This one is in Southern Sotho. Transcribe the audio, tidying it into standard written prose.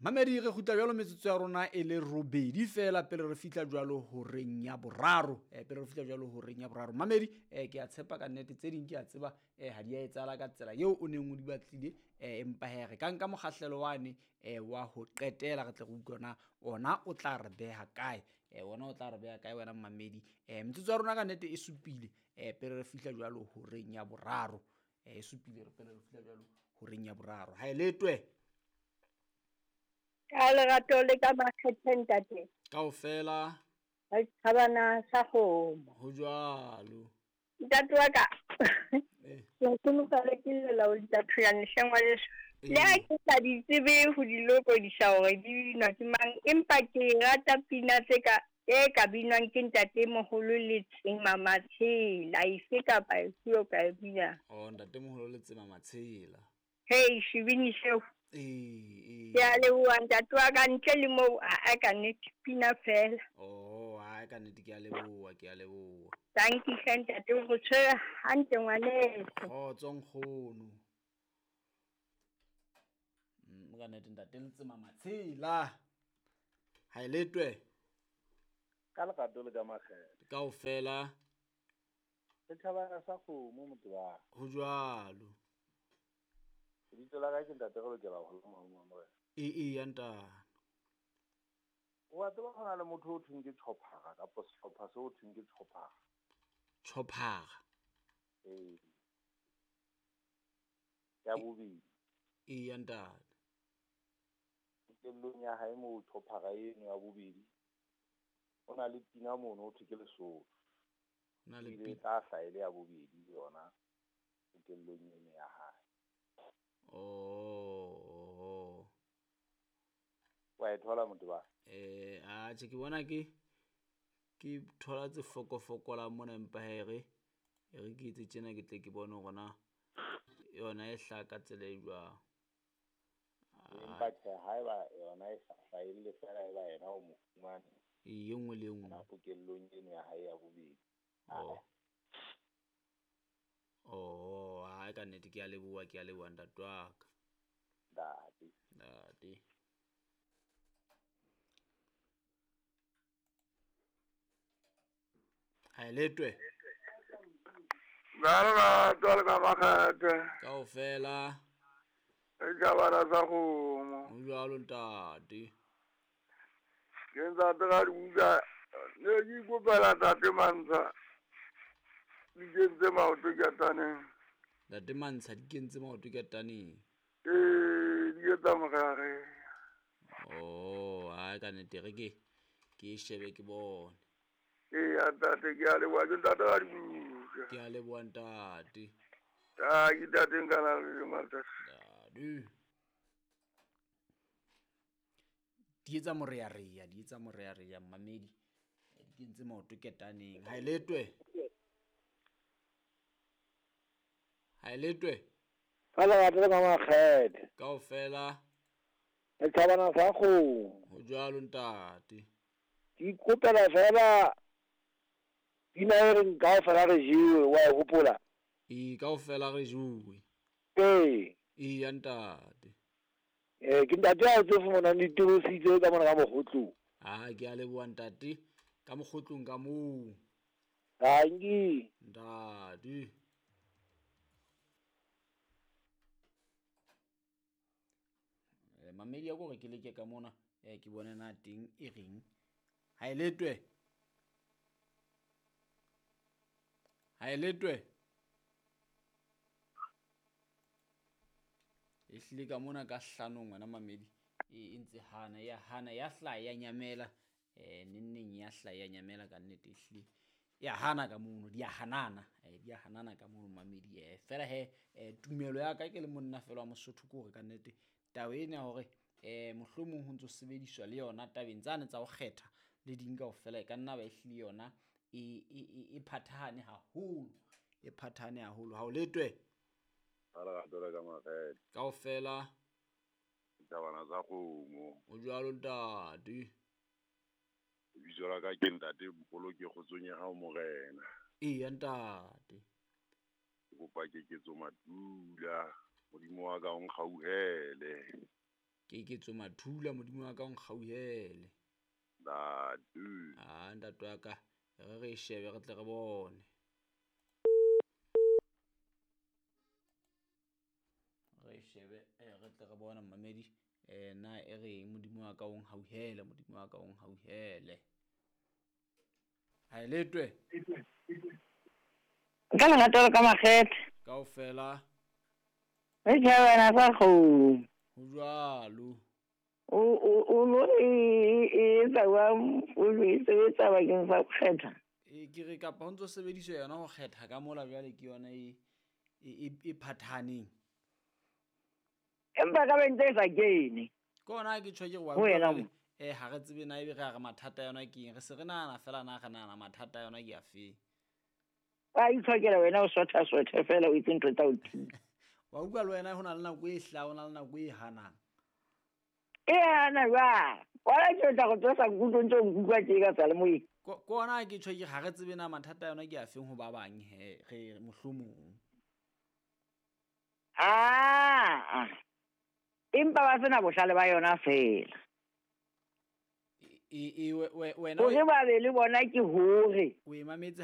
Mamedi re kgutla jwalo metsotso ya rona e le robedi fela pele re fihla jwalo horeng ya boraro. Pele re fihla jwalo horeng ya boraro. Mamedi ke a tshepa ka nnete tse ding ke a tseba ha di a etsahala ka tsela eo o neng o di batlile, empa hee re ka nka mokgahlelo wane wa ho qetela re tle re utlwe na ona o tla re beha kae. Ona o tla re beha kae wena mamedi. Metsotso ya rona ka nnete e supile pele re fihla jwalo horeng ya boraro. E supile pele re fihla jwalo horeng ya boraro. Ha e letwe. Ka lerato le ka makgethe ntate. Kaofela. Re thabana sa kgomo. Ho jwalo. Ntate wa ka. Ke nkgonofale ke llela ho dithathoyane hle ngwaneso. Le ha ke sa di tsebe ho di lokodisa hore di binwa ke mang, empa ke rata pina tse ka e ka binwang ke ntate moholo le Tsema Matshela, efe kapa efe o ka e binang. Oh, ntate moholo le Tsema Matshela. Hei, sebini seo. Ee. Ke a leboha ntate wa ka, ntle le moo a ka nnete pina fela. Oh, a ka nnete ke a leboha, ke a leboha. Thank you hle ntate, o re tshwere hantle ngwaneso. Kgotso nkgono. Ka nnete ntate le Tsema Matshela. Ha e letwe. Ka lerato le ka makgethe. Kaofela. Setjhabana sa kgomo motho wa. Ho jwalo. Lebitso la ka ke ntate re lokela ho la mohau wa morena. Ee ya ntate. Wa tseba ho na le motho o thweng ke Chophara kapa sehlopha seo thweng ke Chophara. Chophara. Ee. Ya bobedi. Ee ya ntate. Kelellong ya hae moo Chophara eno ya bobedi. O na le pina mono ho thwe ke Lesotho. Na le Ile pina. tla hlaha e le ya bobedi yona kelellong eno ya hae. Oh. Wa e thola motho ba? Atjhe ke bona ke thola tse fokofokolang mona, empa hee re ke etse tjena ke tle ke bone hore na yona e hlaha ka tsela e jwang. Empa tjhe, haeba yona e sa hlahelle fela eba yena o mo fumane. E nngwe le e nngwe. Hona pokellong eno ya hae ya bobedi. Oh. Oh, ha ka nnete ke a leboha, ke a leboha ntate wa ka. Ntate. Ntate. Ha e letwe. Ka lerato le ka makgethe. Kaofela. Setjhabana sa kgomo. Ho jwalo ntate. Ke ntate ka dibuka, ne ke ikopela ntate Mantsha. Di kentse maoto ketaneng. Ntate Mantsha di kentse maoto ketaneng. Ee, di etsa morare. Oh, ha ka nnete re ke shebe ke bone. Ee, ntate ke a leboha, ke ntate ka dibuka. Ke a leboha ntate. Ah, ke ntate nka na le matsatsi. Ntate. Di etsa morearea, di etsa morearea mamedi. Di kentse maoto ketaneng. Ha e letwe. Ha e letwe. Ka lerato le ka makgethe. Kaofela. Setjhabana sa kgomo. Ho jwalo ntate. Ke ikopela fela pina e reng kaofela re jewe, wa e hopola? Ee, kaofela re jewe. Ee. Ee ya ntate. Ke ntate ya tse fumanang ditirositse ka mona ka mokgotlong. Ah, ke a leboha ntate, ka mokgotlong ka moo. Tanki. Ntate. Mamedi ya kore ke leke ka mona, ke bone na teng e reng. Ha e letwe. Ha e letwe. E hlile ka mona ka hlanong wena mamedi, e ntse hana ya hana ya hlaha ya nyamela, nenneng ya hlaha ya nyamela ka nnete e hlile. Ya hana ka mono, di a hanana, di a hanana ka mono mamedi. Fela he, tumelo ya ka ke le monna fela wa Mosotho ke hore ka nnete taba ena ya hore mohlomong ho ntso sebediswa le yona tabeng tsane tsa ho kgetha le ding kaofela, e ka nna ba e hlile yona e phathahane haholo, e phathahane haholo. Ha o letwe. Ka lerato le ka makgethe. Kaofela. Ditabana tsa kgomo. Ho jwalo ntate. Lebitso la ka ke ntate Mpoloke kgotsong ya hao morena. Ee ntate. Ke kopa keketso Madula. Modimo wa ka o nkgauhele. Keketso Mathula, modimo wa ka o nkgauhele. Ntate. A ntate wa ka, re re e shebe re tle re bone. Re e shebe re tle re bone mmamedi, na e reng modimo wa ka o nkgauhele, modimo wa ka o nkgauhele. Ha e letwe. Ka lerato le ka makgethe. Kaofela. Re tjhabana sa kgomo. Ho jwalo. O no e etsa jwang o e sebetsa bakeng sa ho kgetha? E ke re kapa ho ntso sebediswa yona ho kgetha ka mola jwale ke yona e phathaneng. Empa ka be ntse e sa kene. Ke hona ke tjho ke re wa Ho wena utlwa mo. Ha re tsebe na ebe re a re mathata a yona ke eng, re se re nahana fela na re nahana mathata a yona ke afeng. Wa itshokela wena o sotha sotha fela o itse ntho tsa ho thusa. Wa utlwa le wena ho na le nako e hlahang, ho na le nako e hanang. E hana jwang? Wala ke tla go tsosa nkutlwe ntse o nkutlwa tje ka seyalemoyeng. Ke hona ke tjho ke re ha re tsebe na mathata a yona ke afeng ho ba bang he, re mohlomong. Ah. Empa ba sena bohlale ba yona fela. E wena Hore ba be le bona ke hore. O e mametse